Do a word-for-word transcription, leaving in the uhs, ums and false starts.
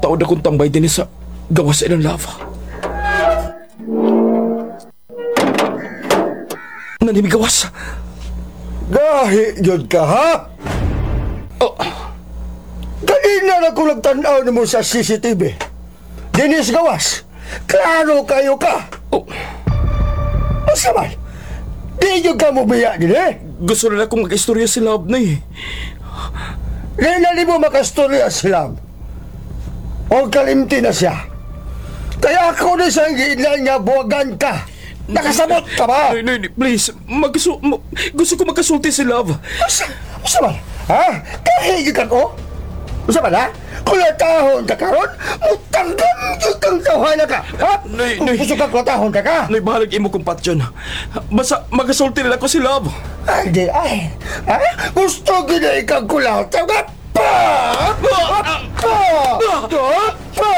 Taod akong tambay din sa gawas sa ilang lava. Nanimigawas. Gahi yun ka, ha? Oh, Kanina na ko nagtanaw nimo sa C C T V. Dinis gawas. Klaro kayo ka. Oh. Asa man? Di yun ka mo biya din eh. Gusto na akong mag-istorya si Love na eh. Di na mo makastorya si Love. O kalimti na siya. Kaya ako ni siyang giinlan nga buwagan ka. Nakasabot ka ba? Noy, Noy, please. Magkasu ma- gusto ko magkasulti si Love. Asa, asa man? Ha? Kahigit ka ko? Asa man, ha? Kulatahon ka karon, mutanggam yun kang tawhana ka. Ha? Noy, Noy. Gusto ka kulatahon ka ka? Noy, bahalag imo kong patyon. Basta magkasulti nila ko si Love. Ay, di, ay. Ha? Gusto gina ikang kulataw ka? Pa! Pa! Pa! Pa! Pa!